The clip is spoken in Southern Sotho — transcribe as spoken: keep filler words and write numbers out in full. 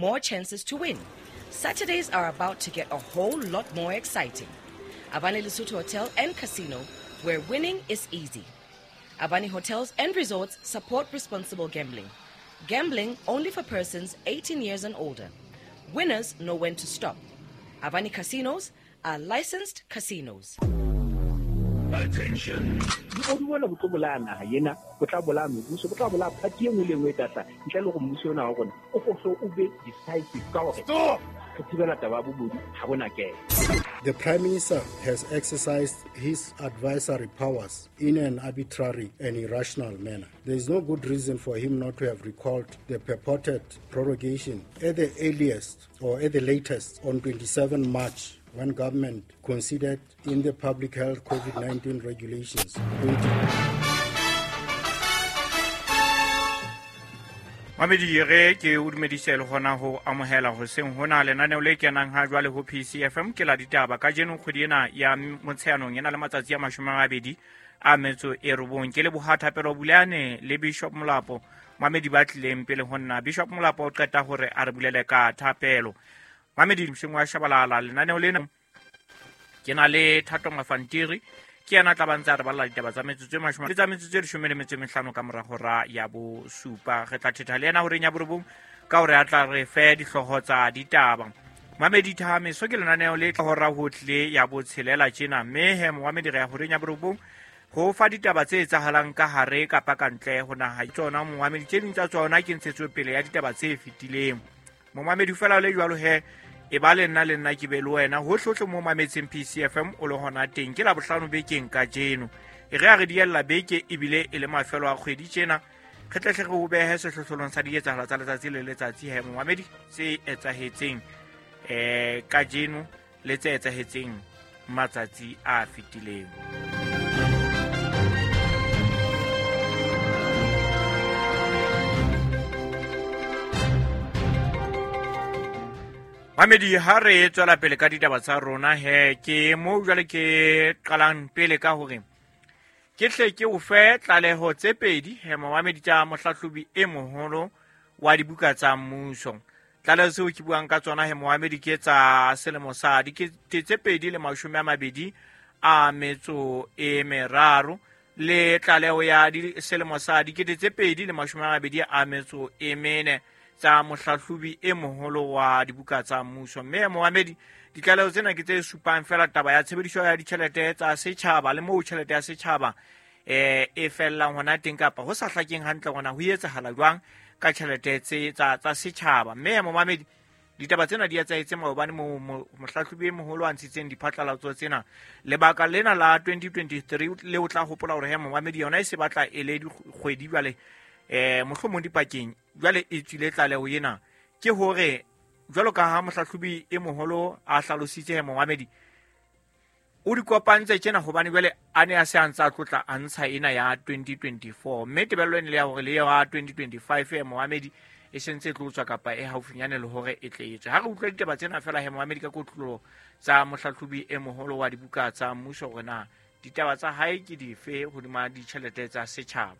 more chances to win. Saturdays are about to get a whole lot more exciting. Avani Lesotho Hotel and Casino, where winning is easy. Avani Hotels and Resorts support responsible gambling. Gambling only for persons eighteen years and older. Winners know when to stop. Avani Casinos are licensed casinos. Attention. O di bona bo tlo bolaya naha ena, bo tla bolaya mebuso, bo tla bolaya party e nngwe le e nngwe e tla tla, ntle le hore mmuso ona wa rona o hlo o be decisive ka hore Stop! re thibela taba ya bobodu ha bona kena. The Prime Minister has exercised his advisory powers in an arbitrary and irrational manner. There is no good reason for him not to have recalled the purported prorogation at the earliest or at the latest on twenty-seventh March, when government considered in the public health COVID nineteen regulations. Mamedi re ke o dumedise le hona ho amohela hoseng hona lenaneo le kenang ha jwale ho P C F M ke la ditaba kajeno kgwedi ena ya Motsheanong ena le matsatsi a mashome a mabedi a metso e robong. Ke leboha Thapelo Bulane le Bishop Molapo Mamedi ba tlileng pele ho nna. Bishop Molapo o qeta hore a re bulele ka thapelo. Mamedi Mshengwa wa Shabalala lenaneo lena ke na le Thato Mafantiri ke yena tla ba ntse a re balla ditaba tsa metsotso e mashome le tsa metsotso e leshome le metso e mehlano ka mora hora ya bosupa. Re tla thetha le yena horeng ya borobong ka hore a tla re fe dihlooho tsa ditaba. Mamedi Thameso ke lenaneo le tla hora ho tlile ya botshelela tjena, mme he Mamedi re ya horeng ya borobong ho fa ditaba tse etsahalang ka hare kapa ka ntle ho naha. Tsona Mamedi tse ding tsa tsona ke ntshetsopele ya ditaba tse fetileng. Momamedi fela le jwalo he e ba le nna le nna ke be le wena hohlohle mo mametseng P C F M o le hona teng. Ke la bohlano bekeng kajeno, e re a re diella beke ebile e le mafelo a kgwedi tjena, re tle hle re o behe sehlohlolong sa dietsahalo tsa letsatsi le letsatsi he momamedi tse etsahetseng eh kajeno le tse etsahetseng matsatsi a fetileng. Mamedi ha re tswela pele ka ditaba tsa rona he ke mo jwale ke qalang pele ka hore ke hle ke o fe tlaleho tse pedi he momamedi tsa mohlahlobi e moholo wa dibuka tsa mmuso. Tlaleho tseo ke buang ka tsona he momamedi ke tsa selemo sa dikete tse pedi le mashome a mabedi a metso e meraro le tlaleho ya selemo sa dikete tse pedi le mashome a mabedi a metso e mene tsa mohlahlobi e moholo wa dibuka tsa mmuso. Mme momamedi ditlaleho tsena ke tse supang fela taba ya tshebediso ya ditjhelete tsa setjhaba le moo tjhelete ya setjhaba eh e fellang hona teng kapa ho sa hlakeng hantle hona ho etsahala jwang ka tjhelete tse tsa tsa setjhaba. Mme momamedi ditaba tsena di etsahetse maobane mo mohlahlobi e moholo a ntshitseng diphatlalatso tsena. Lebaka lena la twenty twenty-three le o tla hopola hore he momamedi yona e se batla e le dikgwedi jwale eh mohlomong dipakeng jwale e tswile tlaleho ena ke hore jwalo ka ha mohlahlobi e moholo a hlalositse he momamedi o di kopantse tjena hobane jwale a ne a se a ntse a tlotla a ntsha ena ya twenty twenty-four, mme tebello ene le ya hore le ya twenty twenty-five he momamedi e sentse e tlo tswa kapa e haufinyane le hore e tle etswe. Ha re utlwa ditaba tsena fela he momamedi ka kotlolo tsa mohlahlobi e moholo wa dibuka tsa mmuso hore na ditaba tsa hae ke dife hodima ditjhelete tsa setjhaba.